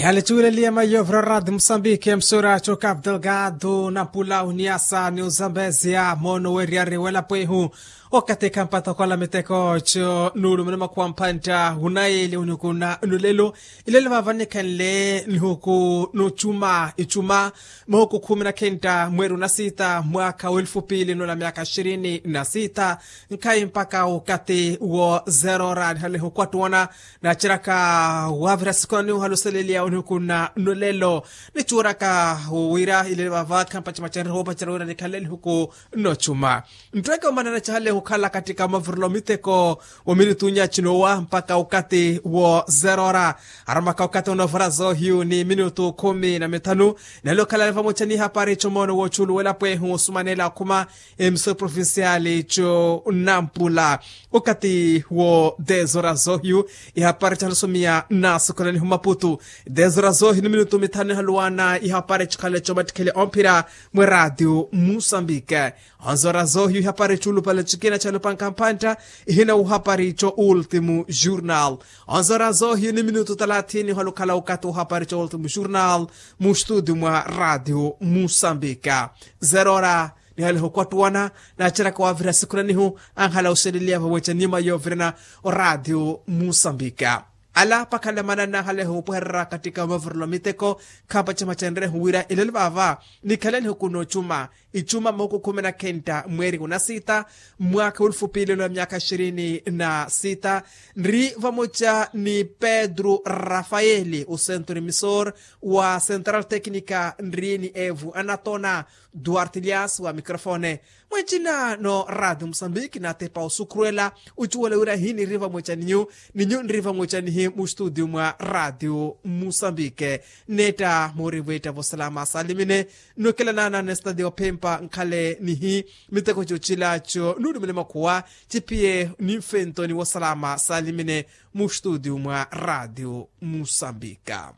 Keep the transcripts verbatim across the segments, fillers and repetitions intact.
Yalechuwileliya mayo vrorad musambiki msura cho cap delgado na pula uniasa ni uzambezia mono weriyari wela pwehu. Okatika mpata kola miteko cho nulu mene makuwa mpanta unayeli unukuna nulelo. Ilelo vavanikhenle nihuku nuchuma ichuma mahuku khumi na khenta mweri unasita mwaka welfu pili nula myaka shirini na sita. Nkhayi mpaka ukati wo zerora nihalihukwattuwana naceraka wavira sikoni uhaluseleliya onihuku na nolelo. Nichuuraka wira ilele vava khampacimacenre hoopacerya wira nikhanle nihuku nochuma. Nttweke omanana cihale hukhala katika mavirelo miteko. Wo minutu nyaci nowa mpaka ukati wo zerora. Aramaka ukati wo novora zohiyu ni minutu khumi na mithanu. Nelo khalale vamoca ni hapari comono wo culu wela pwehu osumanela akhuma emisoro provincial co nampula. Okati wo dez horas zohiyu ihapari calusumiya nasokolanihu maputu. Dez horas zohiyu ni minutu mithanu ihaluwana ihapari cikhale comattikhele omphira mwe radio musambike. Onzora zohiyu ihapari culupale cikina calupanka mpantta ihina uhapari co ultimu jurnal. Onzora zohiyu ni minutu talathini halukhala ukati uhapari co ultimu jurnal. Mu studio mwa radio musambika. Zerora nihaleho kwattuwana naceraka wavira sikhulanihu anhala oseleliya vaweca nima yovirana. Oradio musambika ala pakhala manana haleho opweherera katika mavirelo miteko. Khapa cima cenrehu wira ilelo vava nikhalanihu kuno cuma icuma mahuku khume na khenta mweri unasita mwaka ulufupilelo ya myaka ishirini na sita. Nri vamoca ni pedro rafaeli usenturi misor wa central tecnica nri ni evu anatona duarte lias wa microfone. Mwecina no radio musambiki natepa osukhurwela ucuwela wira hi niri vamoca ninyu ninyu nri vamoca nihi mu studio mwa radio musambike. Netta mori vwetta vosalama salimine. Nukela nana nestadio phempa nkhale nihi miteko cocila co nulumile makhuwa ciphiye ni mfento ni vosalama salimine mu studio mwa radio musambika.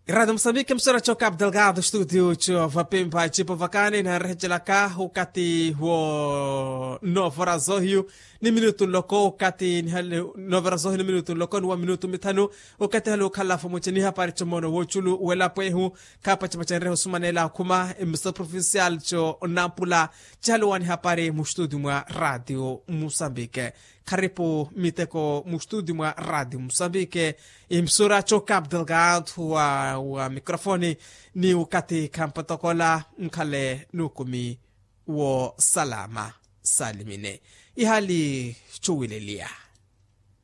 Irado musambike msora co cap delgado studio co vapempa cipo vakani narehecelaka ukati wo novora zohiyu ni minutu nloko ukati nihale novora zohiyu ni minutu nloko ni wa minutu mithanu. Ukati hale ukhala fomoce ni hapari comono woculu welapo ehu. Khapa cima cenrehe osumanela akhuma emiso provincial co nampula cihale wani hapari mu studio mwa radio musambike. Kharipu miteko mu studio mwa radio musambike. Imisura co cap delgado wa microfone ni ukati khampotokola nkhale nukumi wo salama salimine. Ihali cuwileliya